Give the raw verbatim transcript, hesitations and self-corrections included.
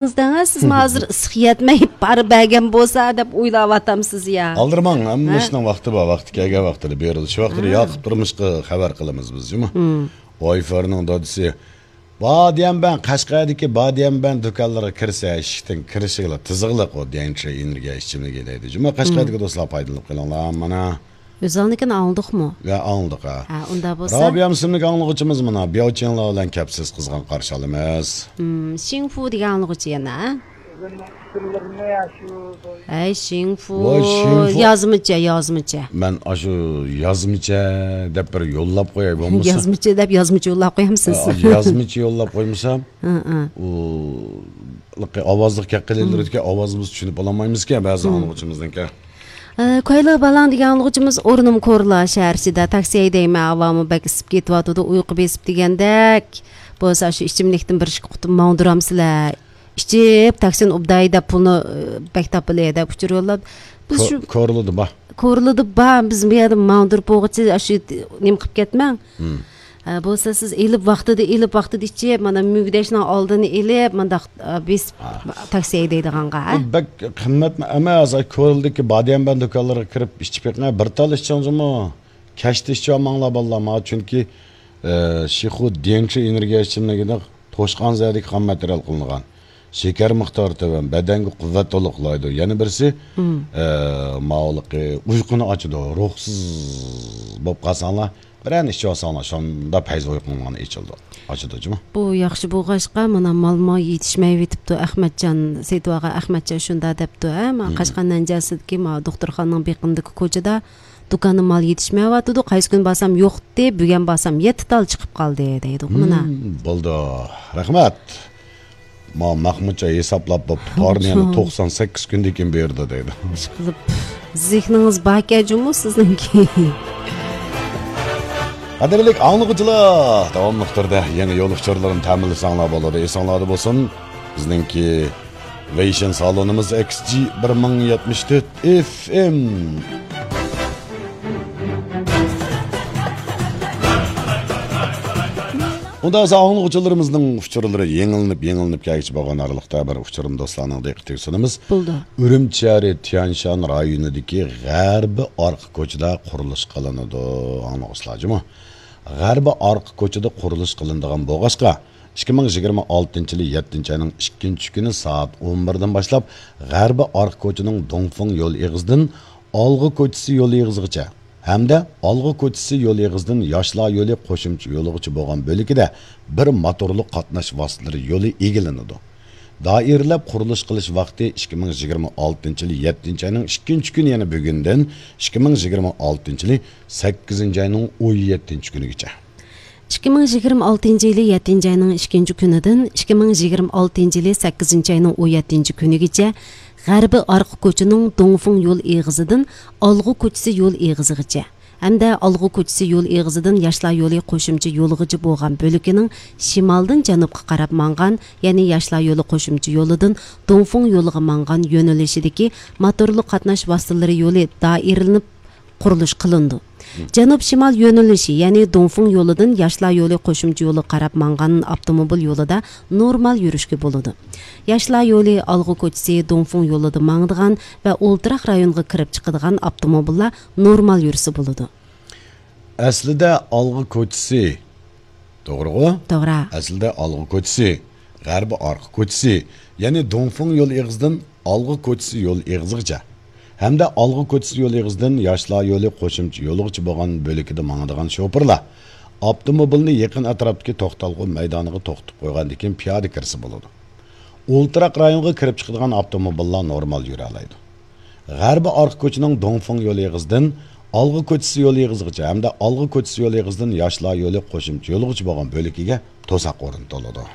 دەڭە، سىزمۇ ھازىر ئىسسىق يەتمەي پارا بەرگەن بولسا دەپ ئويلاۋاتامسىز يا؟ ئالدىرىماڭ، ھەممە ھە؟ ئىشنىڭ ۋاقتى بار، ۋاقتى كەلگەن ۋاقتىدا بېرىلىدۇ. شۇ ۋاقتىدا ھە. ياقۇپ تۇرمۇشقا خەۋەر قىلىمىز بىز، جۇمۇ. مم. ۋايفېرنىڭ دادىسى، باديەنبەن، قەشقەردىكى باديەنبەن دۇكانلىرىغا كىرسە، ئىشىكتىن كىرىشىگىلا تىزىقلىق ئۇ ديەنچى ئېنېرگىيە ئىچىملىكى دەيدۇ. جۇمۇ، قەشقەردىكى مم. دوستلار پايدىلىنىپ قېلىڭلار، مانا. ئۆزۈڭنىڭكىنى ئاڭلىدۇقمۇ؟ يا، ئاڭلىدۇق، ھە. ھە، ئۇنداق بولسا. رابىيەم ئىسىملىك ئاڭلىغۇچىمىز مانا بياۋچىڭلار بىلەن كەپسىز قىزغىن قارشى ئالىمىز. مم، شىڭفۇ دېگەن ئاڭلىغۇچى يەنە، ھە؟ ھەي، شىڭفۇ. ۋاي، شىڭفۇ. يازمىچە، يازمىچە. مەن ئاشۇ يازمىچە دەپ بىر يوللاپ قوياي بولمىسا. يازمىچە دەپ يازمىچە يوللاپ قويامسىز؟ ئا، يازمىچە يوللاپ قويمىسام، ھە، ھە. ئۇ، ئاۋازلىق گەپ قىلىۋېرىدىكەن، ئاۋازىمىزنى چۈشىنىپ بولالمايمىزكەن بەزى مم. ئاڭلىغۇچىمىزنىڭكى. ئە، كويلا بالاڭ دېگەن ئاڭلىغۇچىمىز، ئورنۇم كورلا شەھەر ئىچىدە تاكسى ھەيدەيمەن، ھاۋامۇ بەك ئىسسىپ كېتىۋاتىدۇ، ئۇيقۇ بېسىپ دېگەندەك. بولسا شۇ ئىچىملىكتىن بىر ئىككى قۇتۇم ماڭدۇرامسىلەر؟ ئىچىپ تاكسىنى ئۇبداي دەپ پۇلنى، ئە، بەك تاپىلى دەپ ئۇچۇر يوللاپ. بىز كو-، شۇ كورلىدا بار. كورلىدا بار، بىز بۇ يەردە ماڭدۇرۇپ بولغۇچە شۇ نېمە قىلىپ كەتمەڭ. مم. ئە، بولسا سىز ئېلىپ ۋاقتىدا، ئېلىپ ۋاقتىدا ئىچىپ، مانا مۈگدەشنىڭ ئالدىنى ئېلىپ، مانداق، ئە، بېسىپ ھە. تاكسى ھەيدەيدىغانغا، ھە؟ بۇ بەك قىممەتمۇ ئەمەس، كورلىدىكى باديەنبەن دۇكانلىرىغا كىرىپ ئىچىپ بېقىڭ، بىر تال ئىچىڭ جۇمۇ. كەچتە ئىچىۋالماڭلار بالىلار، مانا، چۈنكى، ئە، شىخۇ ديەنچى ئېنېرگىيە ئىچىملىكىدە توشقان زەھەردىكى خام ماتېرىيال قىلىنغان. شېكەر مىقدارى تۆۋەن، بەدەنگە قۇۋۋەت تولۇقلايدۇ. يەنە بىرسى، مم. ئە، ماۋۇلۇقى ئۇيقۇنى ئاچىدۇ. روھسىز بولۇپ قالساڭلار، بىرەرنى ئىچىۋالساڭلار، شۇنداق پەيز ئۇيقۇڭلارنى ئېچىلىدۇ، ئاچىدۇ جۇمۇ. بۇ ياخشى بولغاچقا، مانا مالمۇ يېتىشمەيۋېتىپتۇ، ئەخمەتجان سېيىتۋاغا، ئەخمەتجان شۇنداق دەپتۇ، ھە؟ مانا مم. قەشقەر نەنجىسىدىكى مانا دوختۇرخانىنىڭ بېقىنىدىكى كوچىدا دۇكاندا مال يېتىشمەيۋاتىدۇ. قايسى كۈنى بارسام يوق ئىدى، بۈگۈن بارسام يەتتە تال چىقىپ قالدى دەيدۇ. مانا. مم، بولدى. رەھمەت. ما مەخمۇتجان ھېسابلاپ بوپتۇ. تارنى يەنە توقسان سەككىز كۈندىن كېيىن بېرىدۇ دەيدۇ. ئىشقىلىپ، زېھنىڭىز باركەن جۇمۇ سىزنىڭكى. قەدىرلىك ئاڭلىغۇچىلار، داۋاملىق تۈردە يېڭى يول ئۇچۇرلىرىنى تەمىنلىسەڭلار بولىدۇ. ئېسىڭلاردا بولسۇن، بىزنىڭكى ۋېيشىن سالونىمىز ئېكس جى بىر مىڭ يەتمىش تۆت ئېف ئېم. ئۇندا بولسا ئاڭلىغۇچىلىرىمىزنىڭ ئۇچۇرلىرى يېڭىلىنىپ، يېڭىلىنىپ كەلگۈچى بولغان ئارىلىقتا بىر ئۇچۇرنى دوستلارنىڭ دىققىتىگە سۇنىمىز. بولدى. ئۈرۈمچى شەھىرى تيەنشان رايونىدىكى غەربىي ئارقا كوچىدا قۇرۇلۇش قىلىنىدۇ. ئاڭلىغۇچىلار جۇمۇ. غەربىي ئارقا كوچىدا قۇرۇلۇش قىلىنىدىغان بولغاچقا، ئىككى مىڭ يىگىرمە ئالتىنچى يىلى يەتتىنچى ئاينىڭ ئىككىنچى كۈنى سائەت ئون بىردىن باشلاپ، غەربىي ئارقا كوچىنىڭ دۇڭفېڭ يول ئېغىزىدىن ئالغا كوچىسى يول ئېغىزىغىچە ھەمدە ئالغا كوچىسى يول ئېغىزىدىن ياشلار يولى قوشۇمچە يولىغىچە بولغان بۆلىكىدە بىر موتورلۇق قاتناش ۋاسىتىلىرى يولى ئىگىلىنىدۇ. دائىرىلەپ قۇرۇلۇش قىلىش ۋاقتى ئىككى مىڭ يىگىرمە ئالتىنچى يىلى يەتتىنچى ئاينىڭ ئىككىنچى كۈنى، يەنى بۈگۈندىن ئىككى مىڭ يىگىرمە ئالتىنچى يىلى سەككىزىنچى ئاينىڭ ئون يەتتىنچى كۈنىگىچە. ئىككى مىڭ يىگىرمە ئالتىنچى يىلى يەتتىنچى ئاينىڭ ئىككىنچى كۈنىدىن ئىككى مىڭ يىگىرمە ئالتىنچى يىلى سەككىزىنچى ئاينىڭ ئون يەتتىنچى كۈنىگىچە غەربىي ئارقا كوچىنىڭ دۇڭفېڭ يول ئېغىزىدىن ئالغا كوچىسى يول ئېغىزىغىچە ھەمدە ئالغا كوچىسى يول ئېغىزىدىن ياشلار يولى قوشۇمچە يولىغىچە بولغان بۆلىكىنىڭ شىمالدىن جەنۇبقا قاراپ ماڭغان، يەنى ياشلار يولى قوشۇمچە يولىدىن دۇڭفېڭ يولىغا ماڭغان يۆنىلىشىدىكى موتورلۇق قاتناش ۋاسىتىلىرى يولى دائىرىلىنىپ قۇرۇلۇش قىلىنىدۇ. جەنۇب شىمال يۆنىلىشى، يەنى دۇڭفېڭ يولىدىن ياشلار يولى قوشۇمچە يولىغا قاراپ ماڭغان ئاپتوموبىل يولىدا نورمال يۈرۈشكە بولىدۇ. ياشلار يولى، ئالغا كوچىسى، دۇڭفېڭ يولىدا ماڭىدىغان ۋە ئولتۇراق رايونغا كىرىپ چىقىدىغان ئاپتوموبىللار نورمال يۈرسە بولىدۇ. ئەسلىدە ئالغا كوچىسى، توغرىغۇ؟ توغرا. ئەسلىدە ئالغا كوچىسى، غەربىي ئارقا كوچىسى، يەنى دۇڭفېڭ يول ئېغىزىدىن ئالغا كوچىسى يول ئېغىزىغىچە ھەمدە ئالغا كوچىسى يول ئېغىزىدىن ياشلار يولى قوشۇمچە يولىغىچە بولغان بۆلىكىدە ماڭىدىغان شوپۇرلار ئاپتوموبىلنى يېقىن ئەتراپتىكى توختالغۇ مەيدانىغا توختىتىپ قويغاندىن كېيىن پىيادە كىرسە بولىدۇ. ئولتۇراق رايونغا كىرىپ چىقىدىغان ئاپتوموبىللار نورمال يۈرەلەيدۇ. غەربىي ئارقا كوچىنىڭ دۇڭفېڭ يول ئېغىزىدىن ئالغا كوچىسى يول ئېغىزىغىچە ھەمدە ئالغا كوچىسى يول ئېغىزىدىن ياشلار يولى قوشۇمچە يولىغىچە بولغان بۆلىكىگە توساق ئورنىتىلىدۇ.